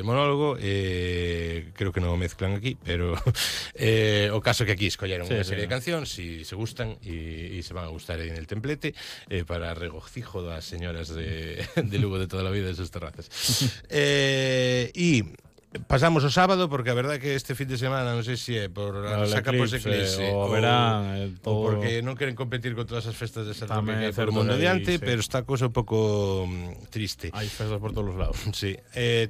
monólogo, creo que non o mezclan aquí, pero o caso que aquí escolleron unha serie de cancións e se gustan e se van a gustar en el templete para regocijo das señoras de Lugo de toda a vida de sus terrazas. E pasamos o sábado, porque a verdad que este fin de semana non sei se é por a saca por eclipse o verán, ou porque non queren competir con todas as festas de San Roque que hai por o mundo adiante, pero está a cousa un pouco triste. Hai festas por todos os lados. Sí.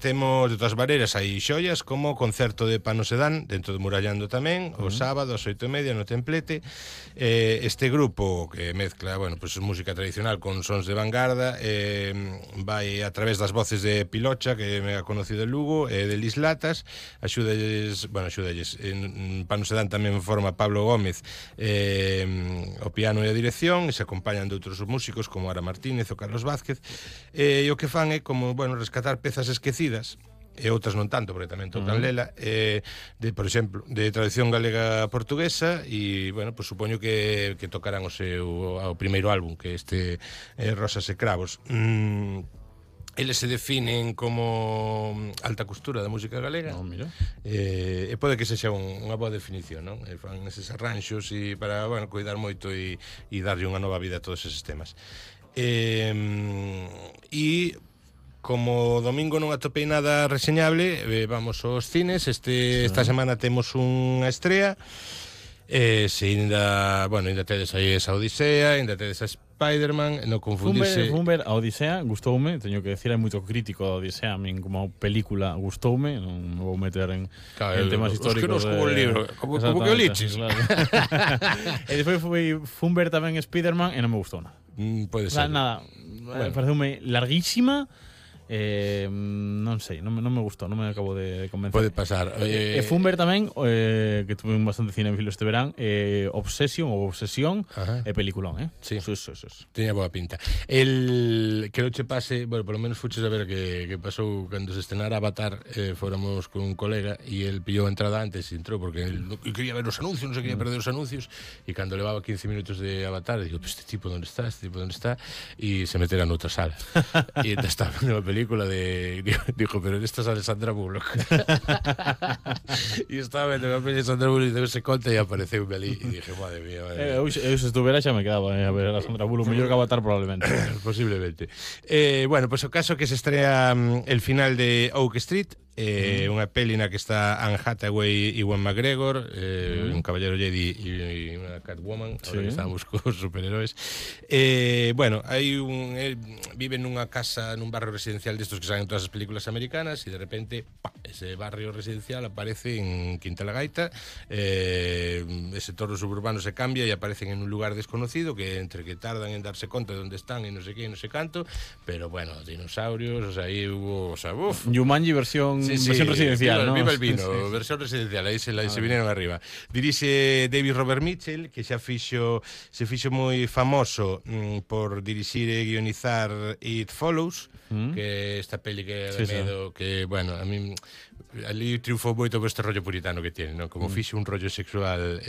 Temos de todas maneiras hai xoias como o concerto de Pano Sedán dentro de Murallando tamén, o sábado ás 8:30 no Templete. Este grupo que mezcla, bueno, pues música tradicional con sons de vanguarda, vai a través das voces de Pilocha, que me ha conocido en Lugo, de Lis Latas, axúdalles, en Pano Sedán tamén forma Pablo Gómez o piano e a dirección, e se acompañan de outros músicos como Ara Martínez ou Carlos Vázquez, e o que fan é como, bueno, rescatar pezas esquecidas e outras non tanto, porque tamén tocan lela, por exemplo, de tradición galega portuguesa, e, bueno, pues supoño que tocarán o primeiro álbum, que este Rosas e Cravos. Eles se definen como alta costura da música galega. E pode que sexa unha boa definición, non? Fan eses arranxos e para, bueno, cuidar moito e darlle unha nova vida a todos eses temas. E como domingo non atopei nada reseñable, vamos aos cines. Esta semana temos unha estrea. Se ainda tedes aí esa Odisea, ainda tedes a Spider-Man, non confundirse. Fumber, a Odisea gustoume, teño que decir, hai moito crítico da Odisea, a min como película gustoume, non me vou meter en temas históricos. Os que nos como un libro, como que o liches. Claro. E despois foi Fumber tamén Spider-Man e non me gustou nada. Pode ser. Nada, pareceume larguísima. Non sei, non me gustou, non me acabo de convencer. Pode pasar. E Fumber tamén, que tuve bastante cinéfilo este verán, Obsesión e peliculón, Sí. Teña boa pinta. Creo que pase, bueno, por lo menos fuches a ver que pasou cando se estrenara Avatar, fóramos con un colega e el pillou a entrada antes e entrou porque el quería ver os anuncios, non se quería perder os anuncios, e cando levaba 15 minutos de Avatar, digo, este tipo onde está? E se metera noutra sala. E estaba vendo a película dijo, pero esta es Alessandra Bullock. E estaba vendo a película de Sandra Bullock e deuse conta e apareceu ali e dije, madre mía. Eu se estuvera xa me quedaba a ver a Sandra Bullock, mellor que Avatar probablemente. Posiblemente. Bueno, pues o caso que se estrea el final de Oak Street, unha peli na que está Anne Hathaway e Ewan McGregor, un caballero Jedi e unha Catwoman, ahora que estamos cos superheróis. Bueno, viven nunha casa, nun barrio residencial destos que salen en todas as películas americanas, e de repente, ese barrio residencial aparece en Quinta la Gaita, ese torno suburbano se cambia e aparecen en un lugar desconocido, que entre que tardan en darse conta de onde están e non sei que, non sei canto, pero bueno, dinosaurios, o sea, aí hubo, o sea, Jumanji versión residencial, ¿no? Viva el vino, versión residencial, aí se vinieron arriba. Dirixe David Robert Mitchell, que se fixo moi famoso por dirixir e guionizar It Follows, que esta peli que de medo, que, bueno, a mí ali triunfou moito por este rollo puritano que tiene, ¿no? Como fixe un rollo sexual,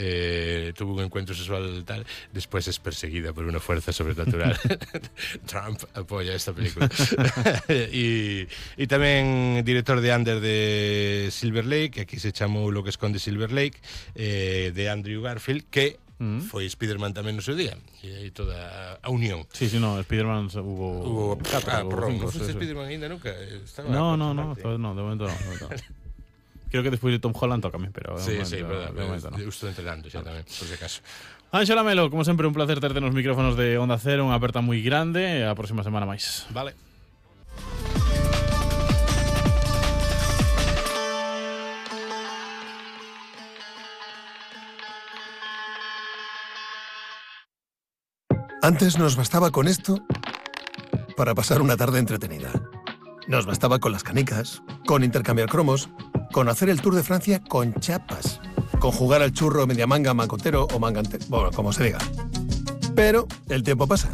tuvo un encuentro sexual tal, despois es perseguida por una fuerza sobrenatural. Trump apoya esta película. E tamén director de Under de Silver Lake, que aquí se chamou Lo que esconde Silver Lake, de Andrew Garfield, que foi Spider-Man tamén no seu día, e aí toda a unión. Sí, no, Spider-Man hubo 4 ou 5. Non foste Spider-Man ainda nunca? No, de momento no. Creo que despois de Tom Holland tócame, pero sí, verdad, eu estou entrenando xa tamén, por si acaso. Ángela Melo, como sempre, un placer terte nos micrófonos de Onda Cero, unha aperta moi grande, a próxima semana máis. Vale. Antes nos bastaba con esto para pasar una tarde entretenida. Nos bastaba con las canicas, con intercambiar cromos, con hacer el Tour de Francia con chapas, con jugar al churro media manga, mancotero o mangante, bueno, como se diga. Pero el tiempo pasa.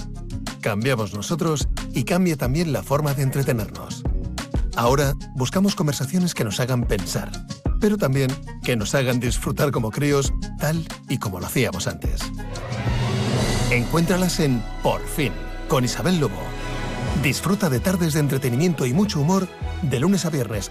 Cambiamos nosotros y cambia también la forma de entretenernos. Ahora buscamos conversaciones que nos hagan pensar, pero también que nos hagan disfrutar como críos, tal y como lo hacíamos antes. Encuéntralas en Por Fin, con Isabel Lobo. Disfruta de tardes de entretenimiento y mucho humor de lunes a viernes